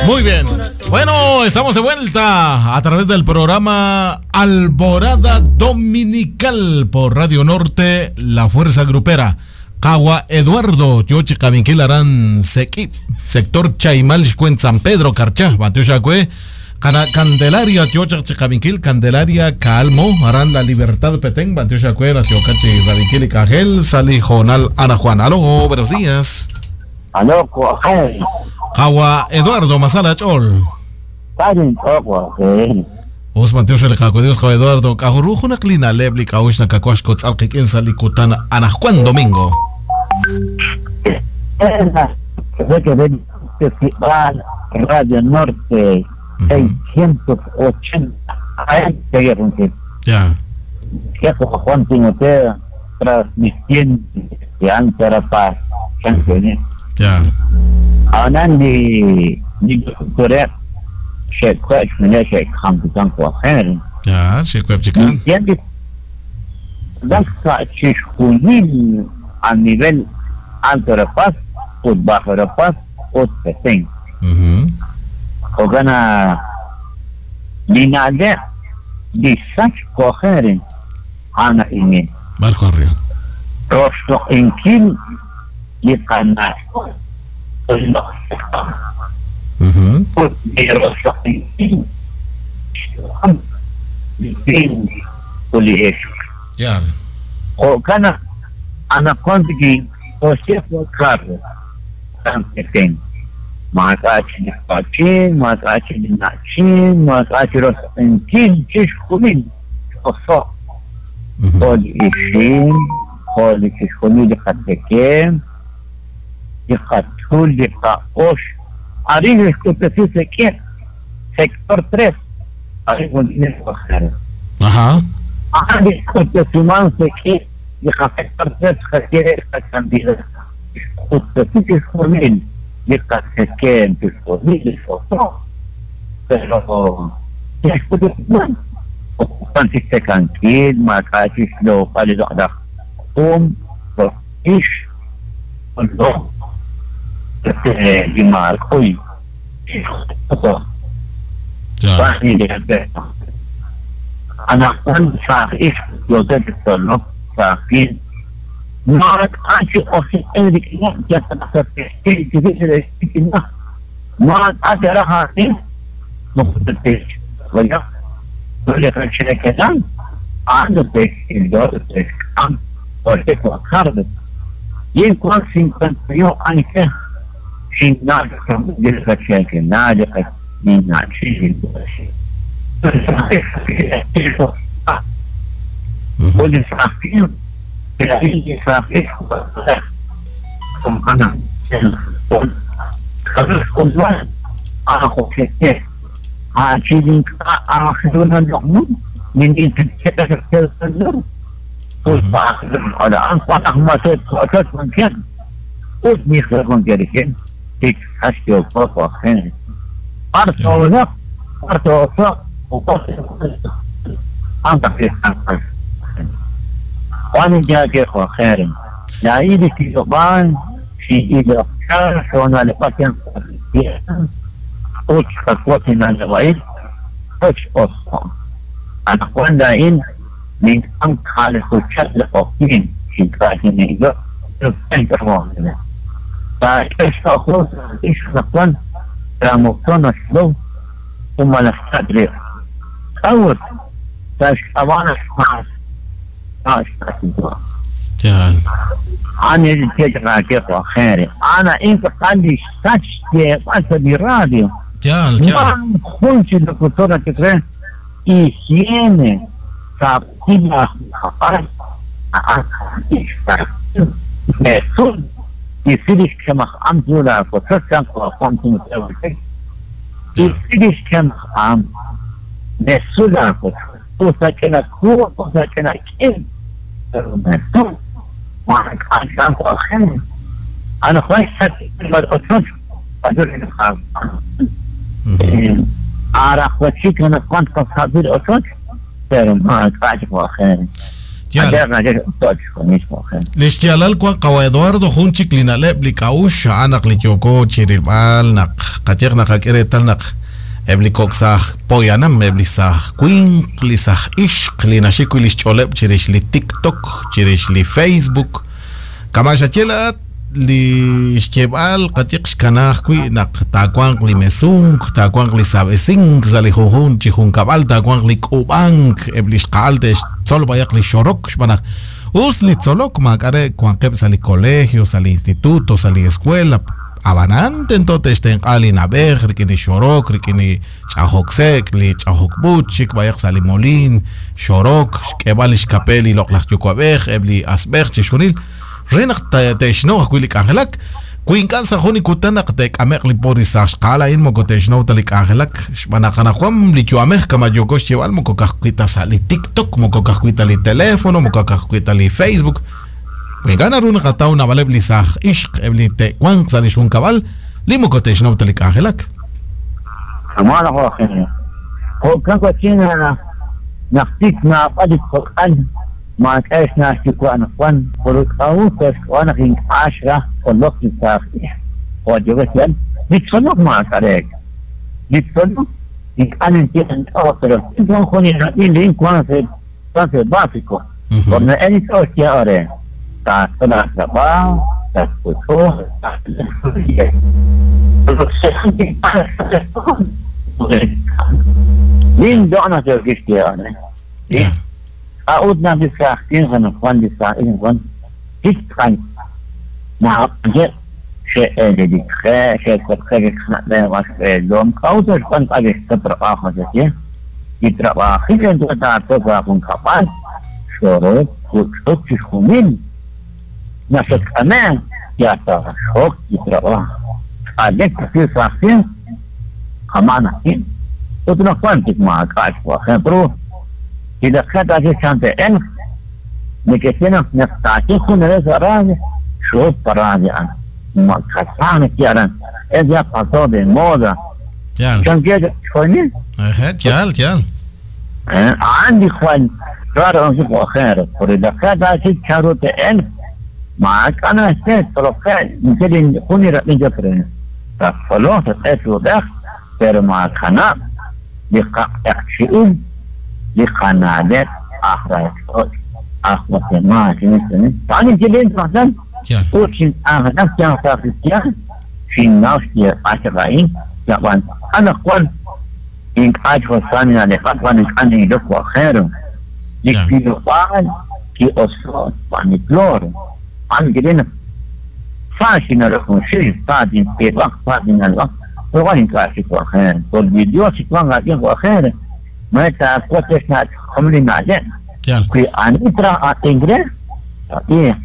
Muy bien. Bueno, estamos de vuelta a través del programa Alborada Dominical por Radio Norte, La Fuerza Grupera. Kawa Eduardo, Yochi Kabinkil Aran Sequi, sector Chaimal, San Pedro, Carchá, Batiushacue, Candelaria, Tiocha Chicavinquil, Candelaria, Calmo, Aran La Libertad Petén, Batiushacue, Tiocachi, Rabinkil y Cajel, Sali Jonal, Ana Juan. Aló, buenos días. Aló, Kawa Eduardo Masala Chol. Osman Tiocha Dios Kawa Eduardo, Kajurujo Klina Lebli, Kaushna Kakuash Kotzalqik, Sali Kutana, Ana Juan Domingo. Radio Norte 680 Ya. Juan Timoteo transmitiendo de Ankara Paz. Ya. Anandi ni Korea se cuál se campeón coger. Ya, se cuál chican. A nivel Alto de Paz, o Bajo de Paz, o Petén. Ogana linale disach coger ana ini. Marco Río. Rosto inkil liqana. Ya. Ogana ana kontiki osefo carro. Petén. Maakachi Pachin, Maakachi Nachin, Maakachi Rosenkin, Chishkumin, Oso, Hol Ishin, Hol Chishkumi, Hatekem, Hatul, Haosh, Arin, Escutesi, Sector 3, Arin, Ajá. Arin, Escutesiman, Seque, Sector 3, Jaquiere, Candida, Escutesi, Chishkumin. Pero Li xyaalal wank qawa' Eduardo jun chik li na'leb' li k'a'uxl a'an naq li yooko chi rilb'al naq qayehaq naqak'e reetal naq eb' li kok' saaj poyanam, eb' li saaj winq, li saaj ixq li naxik wi' li xch'ooleb' chirix li TikTok, chirix li Facebook, kama' xaye laa'at li xyeeb'al qayehaq xkana ajwi' naq taawanq li mesunk, taawanq li saab'esink sa' li junjunq chi junkab'al, taawanq li k'uub'ank, eb' li xqa'al te'xtzol b'ayaq li xorok xb'aan naq us li tzolok maak'a' re wanqeb' sa' li colegio, sa' li instituto, sa' li escuela, ab'anan tento te'xtenq'a li na'b'ej rik'in li xorok, rik'in li ch'ajok sek', li ch'ajok b'uch, xik b'ayaq sa' li moliin, xorok, xk'eeb'al li xkape li loq'laj yuwa'b'ej, eb' li asb'ej, chixjunil re naq te'xnaw ajwi' li k'anjelak. Wi ink'a' sa' jun li kutan naq te'k'ame'q li po li saaj xqa'al a'in moko te'xnaw ta li k'anjelak, xb'aan naq anaqwan li yu'amej kama' yooko xyeeb'al moko ka'ajwi' ta sa' li TikTok, moko ka'ajwi' ta li teléfono, moko ka'ajwi' ta li Facebook. Wi ink'a' naru naqataw naab'aleb' li saaj ixq eb' li te'wanq sa' li xjunkab'al li moko te'xnaw ta li k'anjelak. Kama' laj Eugenio, jo'kan wachin naq tik naab'al li kok'al maak'a' xna' xyuwa' anaqwan, pero k'a'ut sa' xk'ab'a' naq ink'a' xraj tzolok li saaj ixq jo' yookeb' xyeeb'al, li tzolok maak'a' reek'. Li tzolok ink'a' ninye ink'a' pero wan jun inrab'in li wank sa' básico, por na'el li tz'ol xye re, taatzol aatrab'aaj, tatk'utuq, Lin doq' naq yookeb' xyeeb'al re. K'a'ut naq li saaj winq anaqwan, li saaj ixq anaqwan tik tz'aqal naab'aleb' xe'eelelik qe, xe'kotqe li qana'leb' wan xb'eelom? K'a'ut naq xwan ink'a' ke'xtzol trab'aaj jo' xaye? Li trab'ajil tento taatzol sa' laajunkab'al, xorok, juch'uk, chixjunil. Naq xatk'ame' yal taaxok li trab'aaj. K'alek ajwi' saaj winq, kama'an ajwi'. Ut anaqwan tik maak'a' xwajeb' ru. Li laq'e taaye chan te'elq, neke'xye naq naq taaye jun reheb' sa' radio, xhop pa radio a'an. Ma kasaj naxye aran, Es ya pasó de moda. Yaal. Chankeb' chaq chixjunil. Eje, yaal, yaal. A'an li jwal raro a'an jo' ojer, por li laq'e taaye chanru te'elq, maak'a' naxye, tzolokeb', ninye li jun li rab'in chaq re, tattzoloq, tat'elq chi uub'ej, pero maakanab' li qaq'eqchi'il, li qana'leb' aj ralch'och' aj Guatemala, A'an ninye len rajlal ut xink'anjelak yal sa' kristiaan, xinnaw xyeeb'al chaq a'in, ab'an anaqwan ink'a' chik jo'kan nina'leb'ak wan ink'a' nin'ilok wajero, li wilob'aal ki'oso' xb'aan li cloro. A'an ninye len naq sa xin'ilok junxil, sa tintz'iib'aq, sa tinna'leb'aq, pero wan ink'a' chik wajero. Por li Dios chiwanq aawik'in wajero, mare taawotz re xna'leb' li na'leb'. Wi ani traj ab'ink re, ab'iiq.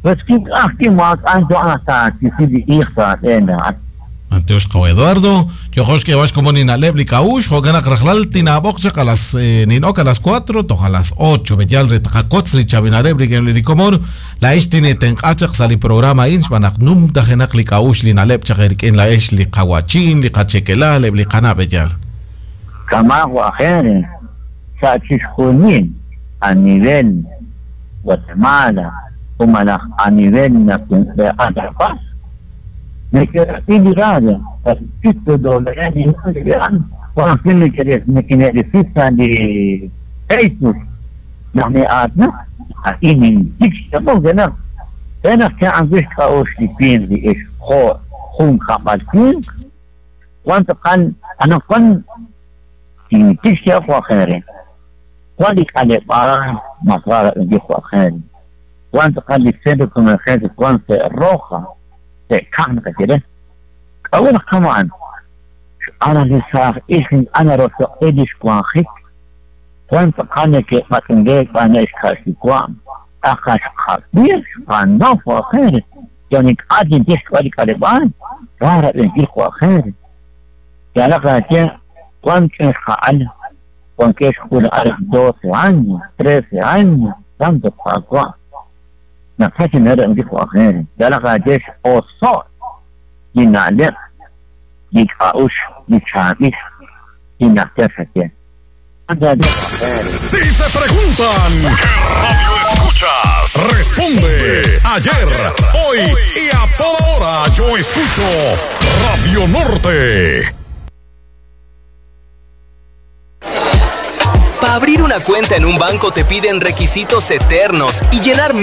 Pues wi ink'a' ajwi' maak'a' ntoq naq taawisi li iiq sa' aab'een laa'at. B'antiox qawa' Eduardo, yooqo xk'eeb'al xkomon li na'leb' li k'a'uxl, jo'kan naq rajlal tinaab'oq chaq a las nin'ok a las cuatro toj a las ocho, b'eyal re taqawotz li chaab'il na'leb' rik'in li komon, laa'ex tineetenq'a chaq sa' li programa a'in xb'aan naq numtajenaq li k'a'uxl li na'leb' chaq eerik'in laa'ex li qawa'chin, li qachekelal, eb' li qana' b'eyal. Kama' jo' ajer sa' chixjunil a nivel Guatemala o malaj a nivel Nacional, Neke'rab'i li radio sa' li sitio WNY wan ajwi' nekine'risi sa' li Facebook naq ne'aatinak, a'in nintik xch'ab'ok re naq re naq cha'an wi' xk'a'uxl li winq li ixq jo' junkab'al winq, wan tz'aqal anaqwan tintik xch'ab'ok jo' aj re. Wan li k'aleb'aal mas ra rab'inkil jo' aj re. Wan tz'aqal li centro comercial wan sa' Roja, sa' Kaj naqaye re. K'a'ut naq kama'an? Xb'aan naq li saaj ixq ink'a' naroxloq'i li xwanjik. Wan tz'aqal neke'b'atz'unk xb'aan xka'xyuwa', tz'aqal xqab'i, xqanaw jo' aj re. Yal ink'a' tinye xk'ab'a' li k'aleb'aal, ra rab'inkil jo' aj re. Yaalaq laaye, wan ch'ina xqa'al wankeb' xk'uula'al 12 años, 13 años, santo Qaawa', naqaj chi na'leb' jo' aj re. Yaalaq laaye x'oso' li na'leb', li k'a'uxl, li chaab'il, li najter xaye. Si te preguntan, ¿qué radio escuchas? Responde ayer, hoy y a toda hora. Yo escucho Radio Norte. Para abrir una cuenta en un banco te piden requisitos eternos y llenar